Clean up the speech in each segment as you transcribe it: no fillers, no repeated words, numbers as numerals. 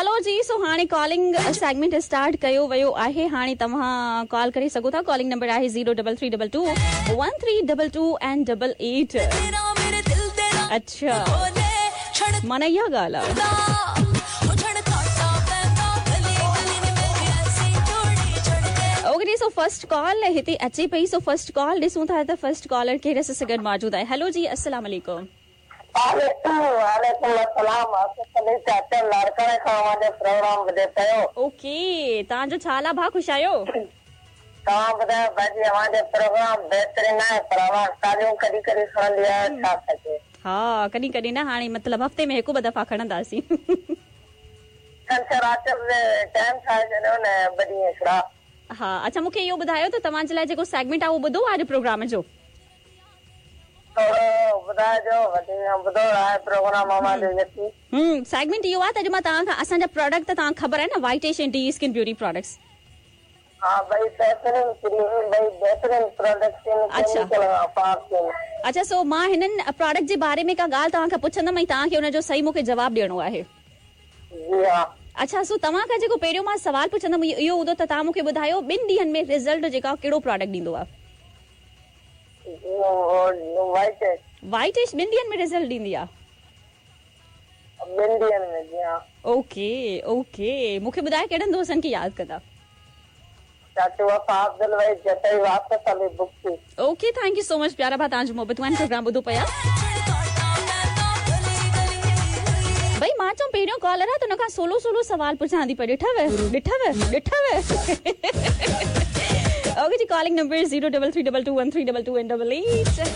चलो जी, सो हाणे calling segment start कयो वियो आहे। हाणे तव्हां कॉल करे सघो था। कॉलिंग नंबर आहे 03322 1322 एंड 88। अच्छा, माना इहा ॻाल्हि आहे। ओके, सो फर्स्ट कॉल हिते अचे पई। सो फर्स्ट कॉल ॾिसूं था त फर्स्ट कॉलर केरु असां सां गॾु मौजूदु आहे। हेलो जी, अस्सलाम वालेकुम। वालेकुम अस्सलाम। चाचा लाड़काणे खां अव्हांजो प्रोग्राम ॿुधे पियो। ओके, तव्हांजो छा हाल आहे भाउ? ख़ुशि आहियो? तव्हां ॿुधायो भाजी, अव्हांजो प्रोग्राम बहितरीन आहे, पर अव्हां ॻाल्हियूं कॾहिं कॾहिं खणंदी आहियो, छा सके? हा, कॾहिं कॾहिं न, हाणे मतिलबु हफ़्ते में हिकु ॿ दफ़ा खणंदासीं। छंछर आचर टाइम ठाहे छॾियो न, ॿ ॾींहं हिकिड़ा। हा, अच्छा, मूंखे इहो ॿुधायो त तव्हांजे लाइ जेको सेगमेंट आहे उहो ॿुधो आहे अॼु प्रोग्राम जो? थोरो ॿुधाइजो, वधीक ॿुधो आहे प्रोग्राम अव्हांजो। सेगमेंट इहो आहे त अॼु मां तव्हां खां असांजा प्रोडक्ट त तव्हांखे ख़बर आहे न, white ash and D skin beauty products. हा भई, बहितरीन क्रीम, भई बहितरीन प्रोडक्ट। अच्छा अच्छा, सो मां हिननि प्रोडक्ट जे बारे में का ॻाल्हि तव्हां खां पुछंदमि ऐं तव्हांखे हुनजो सही मूंखे जवाबु ॾियणो आहे। जी हा। अच्छा, सो तव्हां खां जेको पहिरियों मां सवाल पुछंदमि इहो हूंदो त तव्हां मूंखे ॿुधायो ॿिनि ॾींहंनि में रिज़ल्ट जेका कहिड़ो प्रोडक्ट ॾींदो आहे? वाइट एश। वाइट एश ॿिनि ॾींहंनि में रिज़ल्ट ॾींदी आहे? ॿिनि ॾींहंनि में, जी हा। ओके ओके, मूंखे ॿुधायो कहिड़नि दोस्तनि खे यादि कंदा? चाचू वफ़ा अब्दुल भाई जतई वापसि हली बुक थी। Okay, thank you so much प्यारा भाउ, तव्हांजूं मोहबतूं आहिनि, प्रोग्राम ॿुधो पिया। भई मां चऊं पहिरियों कॉलर आहे त हुन खां सोलो सोलो सवाल पुछां थी पई। ॾिठव ॾिठव ॾिठव। Okay ji, calling number 03322 1322 and 88।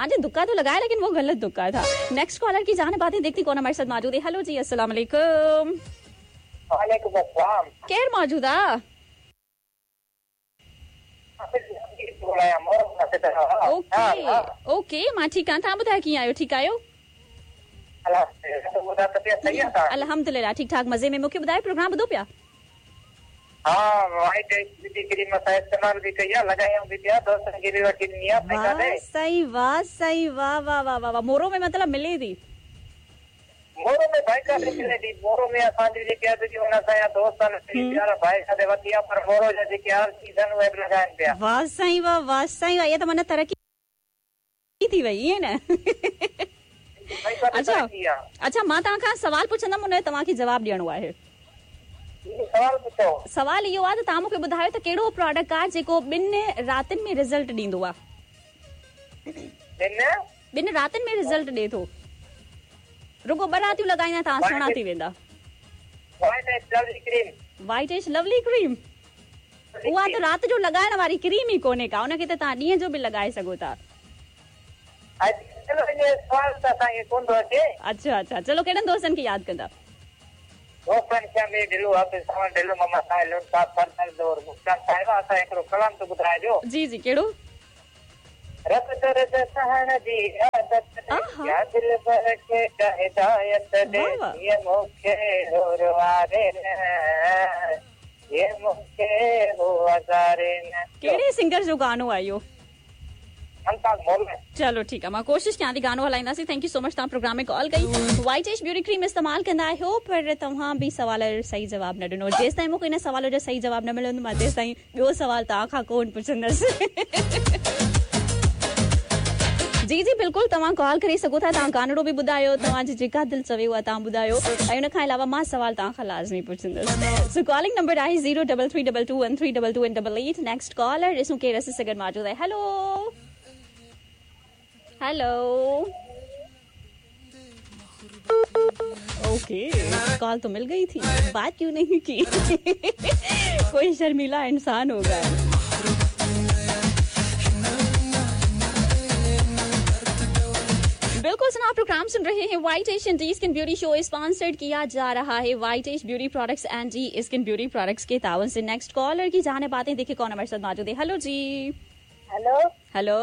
आज दुक्का तो लगाया लेकिन वो गलत दुक्का था। नेक्स्ट कॉलर की जाने बातें देखती कौन हमारे साथ मौजूद है। हेलो जी, अस्सलाम वालेकुम। वालेकुम अस्सलाम। केर मौजूद आ? ओके ओके, मां ठीक आहियां, तव्हां ॿुधायो कीअं आहियो? ठीक आहियो? अल्हम्दुलिल्लाह, ठीक ठाक, मज़े में। मूंखे ॿुधायो प्रोग्राम ॿुधो पिया? हा, वाइट एश ब्यूटी क्रीम असां इस्तेमाल बि कई आहे, लॻायूं बि पिया, दोस्तनि खे बि वठी ॾिनी आहे। सही वाह, सही वाह वाह वाह वाह। मोरो में मतलब मिले थी? मोरो में भाई काथे मिले थी। मोरो में असांजे जेके आहे हुन असांजा दोस्त आहिनि प्यारा भाई काथे वठी आहे, पर मोरो जा जेके आर सीज़न उहे बि लॻाइनि पिया। वाह साईं वाह, वाह साईं वाह, इहा त माना तरक़ी थी वई, ईअं न? अच्छा अच्छा, मां तव्हां खां सवाल पुछंदमि, हुन जो तव्हांखे जवाबु ॾियणो आहे। सवाल पुछो। सवाल इहो आहे त तव्हां मूंखे ॿुधायो त कहिड़ो प्रोडक्ट आहे जेको ॿिनि रातियुनि में रिज़ल्ट ॾींदो आहे? ॿिनि रातियुनि में रिज़ल्ट ॾिए थो। रुगो ॿ रातियूं लॻाईंदा तव्हां सुहिणा थी वेंदा। वाइट एश लवली क्रीम, उहा त राति जो लॻाइण वारी क्रीम ई कोन्हे का, उनखे त तव्हां ॾींहं जो बि लॻाए सघो था। अच्छा अच्छा, चलो कहिड़नि दोस्तनि खे यादि कंदा? दोस्तनि खे अमीर ढिल्लू, हाफ़िज़ सावण ढिल्लू, मोहम्मद साहिल साहब, सरदर्द और मुस्कान साहिबा, असां हिकिड़ो कलाम त ॿुधाइजो। जी जी, कहिड़ो? रब दर्द सहण जी आदत दे, या दिलबर खे का हिदायत दे, ये मूंखे रुवारे न, ये मूंखे हो अज़ारे न। कहिड़े सिंगर जो गानो आहे इहो? चलो ठीकु आहे, मां कोशिशि कयां थी, गानो हलाईंदासीं। Thank you so much, तव्हां प्रोग्राम में कॉल कई। वाइट एश ब्यूटी क्रीम इस्तेमालु कंदा आहियो, पर तव्हां बि सवाल जो सही जवाबु न ॾिनो। जेसि ताईं मूंखे इन सवाल जो सही जवाबु न मिलंदो, मां तेसि ताईं ॿियो सवाल तव्हां खां कोन पुछंदसि। जी जी बिल्कुलु, तव्हां कॉल करे सघो था, तव्हां गानड़ो बि ॿुधायो, तव्हांजी जेका दिलि चवे उहा तव्हां ॿुधायो, ऐं उन खां अलावा मां सवाल तव्हां खां लाज़मी पुछंदसि। सो कॉलिंग नंबर आहे 03322 1322 एंड 88। नेक्स्ट कॉलर ॾिसूं केरु असां सां गॾु मौजूदु आहे। हेलो हेलो, ओके, कॉल तो मिल गई थी, बात क्यों नहीं की? कोई शर्मीला इंसान होगा। बिल्कुल सुना, आप प्रोग्राम सुन रहे हैं white ash and D skin beauty show, sponsored किया जा रहा है white ash beauty products and D skin beauty products के तावन से। नेक्स्ट कॉलर की जाने बातें देखिए कौन हमारे साथ मौजूद है। हेलो जी। Hello hello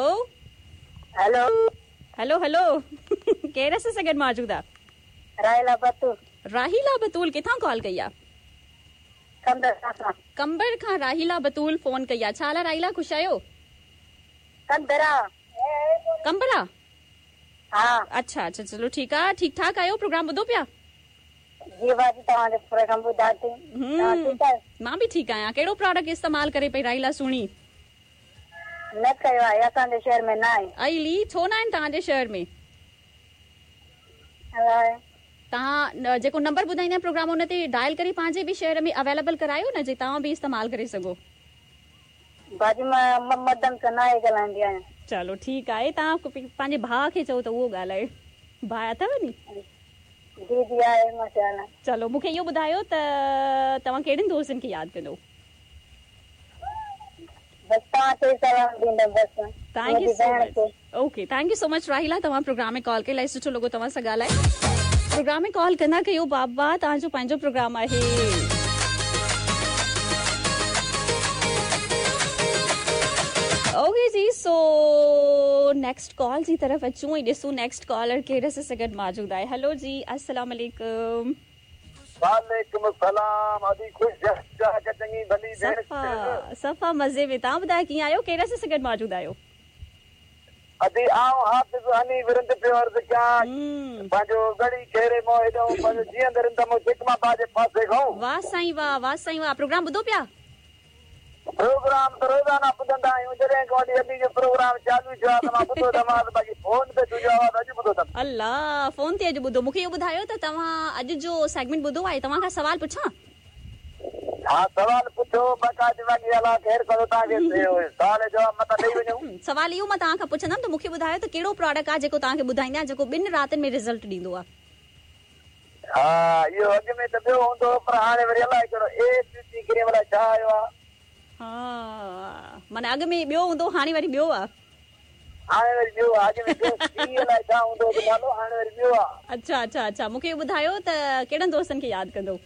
hello hello hello, केरु असां सां गॾु मौजूदु आहे? राहिला बतूल। राहिला बतूल किथां कॉल कई आहे? कंबर खां राहिला बतूल फोन कई आहे। छा हाल आहे राहिला, ख़ुशि आहियो? कंबरा। कंबरा? हा। अच्छा अच्छा, चलो ठीकु आहे, ठीकु ठाक आहियो? प्रोग्राम ॿुधो पिया? जी बाजी, तव्हांजो प्रोग्राम ॿुधां थी। तव्हां ठीकु आहियो? मां बि ठीकु आहियां। कहिड़ो प्रोडक्ट इस्तेमालु करे पई राहिला सुहिणी? न कयो आहे, असांजे शहर में न आहे। अली, छो न आहिनि तव्हांजे शहर में? अलाए। तव्हां जेको नंबर ॿुधाईंदा प्रोग्राम उन ते डायल करे पंहिंजे बि शहर में अवेलेबल करायो न, जे तव्हां बि इस्तेमालु करे सघो। बाजी, मां मर्दनि सां न ॻाल्हाईंदी आहियां। चलो ठीकु आहे, तव्हां पंहिंजे भाउ खे चओ त उहो ॻाल्हाए। भाउ अथव नी? जी जी आहे, माशाअल्लाह। चलो मूंखे इहो ॿुधायो त तव्हां कहिड़नि दोस्तनि खे यादि कंदो? बसि तव्हांखे सलाम ॾींदमि बसि। Thank you मुंहिंजी सो भेण मच। खे। Okay, thank you so much Rahila, तव्हां प्रोग्राम में कॉल कई, इलाही सुठो लॻो तव्हां सां ॻाल्हाए। प्रोग्राम में कॉल कंदा कयो बाबा, तव्हांजो पंहिंजो प्रोग्राम आहे। ओके जी, सो नेक्स्ट कॉल जी तरफ़ अचूं ऐं ॾिसूं नेक्स्ट कॉलर कहिड़े सां गॾु मौजूदु आहे। हेलो जी, अस्सलाम वालेकुम। वालेकुम सलाम। अदी ख़ुशि चङी भली भेण? सफ़ा सफ़ा मज़े में। तव्हां ॿुधायो कीअं आहियो, कहिड़े सां गॾु मौजूदु आहियो? अदी आउं हाफ़िज़ हनी विरंद पियो अर्ज़ु कयां, पंहिंजो गड़ी खेरे मां हेॾो पंहिंजो जीअं रिंद मां जिकमा जे पासे खां। वाह साईं वाह, वाह साईं वाह। प्रोग्राम ॿुधो पिया? प्रोग्राम त रोज़ाना ॿुधंदा आहियूं, जॾहिं खां वठी अदी जो प्रोग्राम चालू थियो आहे त मां ॿुधो अथमि, बाक़ी फ़ोन ते तुंहिंजो आवाज़ अॼु ॿुधो अथमि। अलाह, फ़ोन ते अॼु ॿुधो। मूंखे इहो ॿुधायो त तव्हां अॼु जो सेगमेंट ॿुधो आहे? तव्हां खां सवाल पुछां? हा, सवाल पुछो, बाक़ाइदे, बाक़ी अलाह ख़ैर कंदो, तव्हांखे सवाल जवाब मथां ॾेई वञूं। सवाल इहो मां तव्हां खां पुछंदमि त मूंखे ॿुधायो त कहिड़ो प्रोडक्ट आहे जेको तव्हांखे ॿुधाईंदा आहिनि जेको ॿिनि रातियुनि में रिज़ल्ट ॾींदो आहे? हा, इहो अॻु में त ॿियो हूंदो हो, पर हाणे वरी अलाए कहिड़ो ए ब्यूटी क्रीम अलाए छा आयो आहे। हा, माना अॻु में ॿियो हूंदो, हाणे वरी ॿियो आहे। हाणे वरी ॿियो आहे, अॻु में ॿियो सी अलाए छा हूंदो हो नालो, हाणे वरी ॿियो आहे। अच्छा अच्छा अच्छा, मूंखे इहो ॿुधायो त कहिड़नि दोस्तनि खे यादि कंदो?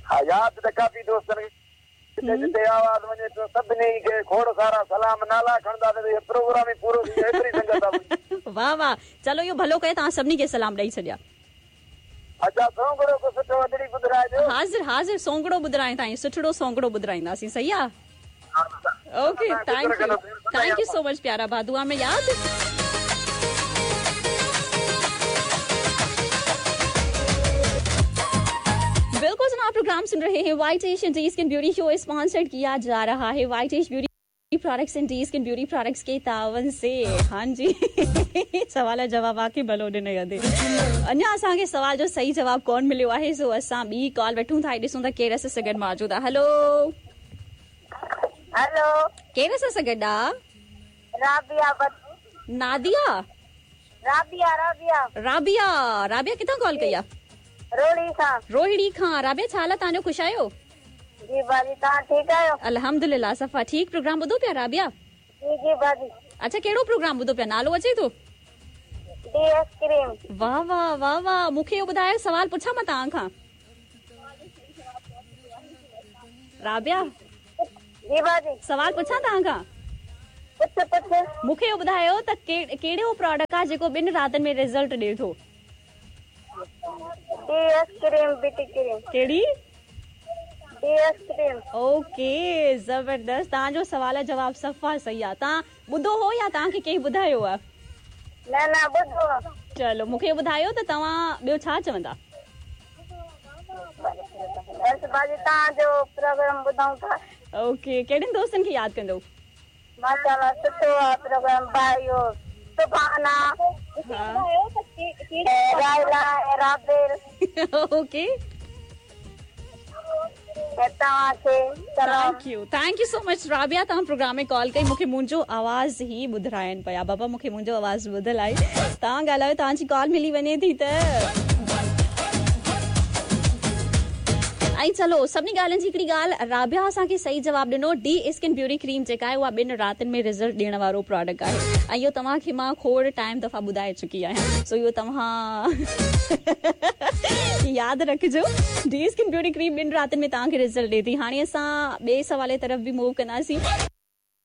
हा, यादि त काफ़ी दोस्तनि खे, जिते जिते आवाज़ वञे थो सभिनी खे खोड़ सारा सलाम। नाला खणंदा त इहो प्रोग्राम ई पूरो थी, एतिरी संगत आहे। वाह वाह, चलो इहो भलो कयो तव्हां सभिनी खे सलाम ॾेई छॾिया। अच्छा, सोंगड़ो को सुठो अदड़ी ॿुधाइजो। हाज़िर हाज़िर, सोंगड़ो ॿुधाए ताईं सुठड़ो सोंगड़ो ॿुधाईंदासीं, सही आहे? Okay, thank you, thank you so much प्यारा भाउ, दुआ में याद। बिल्कुल जनाब, प्रोग्राम सुन रहे हैं white Asian D skin beauty show, sponsored किया जा रहा है white Ash beauty products and D skin beauty products के तावन से। हाँ जी, सवाल जवाब आके भलो ॾिनो अदे। अञा असांखे सवाल जो सही जवाब कोन मिलियो आहे, सो असां ॿी कॉल वठूं था, ॾिसूं था केरु असां सां गॾु मौजूदु आहे। हेलो। हेलो। केरु असां सां गॾु आहे? राबिया। नादिया? राबिया राबिया। राबिया, राबिया किथां कॉल कई आहे? रोहिड़ी खां। रोहिड़ी खां। राबिया, छा हाल आहे तव्हांजो, ख़ुशि आहियो? जी बाजी, तव्हां ठीकु आहियो? अल्हम्दुलिल्लाह, सफ़ा ठीक। प्रोग्राम ॿुधो पिया राबिया? जी जी बाजी। अच्छा, कहिड़ो प्रोग्राम ॿुधो पिया, नालो अचे थो? D S cream. वाह वाह वाह वाह, मूंखे इहो ॿुधायो, सवाल पुछां मां तव्हां खां? राबिया। जी बाजी। सवाल पुछां तव्हां खां? पुछ पुछ। मूंखे इहो ॿुधायो त कहिड़ो प्रोडक्ट आहे जेको ॿिनि रातियुनि में रिज़ल्ट ॾिए थो? D S cream, beauty cream. कहिड़ी? D S cream. Okay, ज़बरदस्त, तव्हांजो सवाल जवाब सफ़ा सही आहे। तव्हां ॿुधो हो या तव्हांखे कंहिं ॿुधायो आहे? न न, ॿुधो। चलो मूंखे ॿुधायो त तव्हां ॿियो छा चवंदा? बसि बाजी, तव्हांजो प्रोग्राम ॿुधूं था। ओके, कहिड़नि दोस्तनि खे यादि कंदो? माशाअल्लाह सुठो आहे प्रोग्राम भाई, इहो सुभाना राइला राबेल। ओके, तव्हांखे thank you so much Rabia, तव्हां प्रोग्राम में कॉल कई, मूंखे मुंहिंजो आवाज़ ई ॿुधाइनि पिया। बाबा मूंखे मुंहिंजो आवाज़ ॿुधल आहे, तव्हां ॻाल्हायो, तव्हांजी कॉल मिली वञे थी त। ऐं चलो सभिनी ॻाल्हियुनि जी हिकिड़ी ॻाल्हि, राबिया असांखे सही जवाबु ॾिनो, डी स्किन ब्यूटी क्रीम जेका आहे उहा ॿिनि रातियुनि में रिज़ल्ट ॾियण वारो प्रोडक्ट आहे, ऐं इहो तव्हांखे मां खोड़ टाइम दफ़ा ॿुधाए चुकी आहियां, सो इहो तव्हां यादि रखिजो। डी स्किन ब्यूटी क्रीम ॿिनि रातियुनि में तव्हांखे रिज़ल्ट ॾिए थी। हाणे असां ॿिए सवाल तरफ़ बि मूव कंदासीं।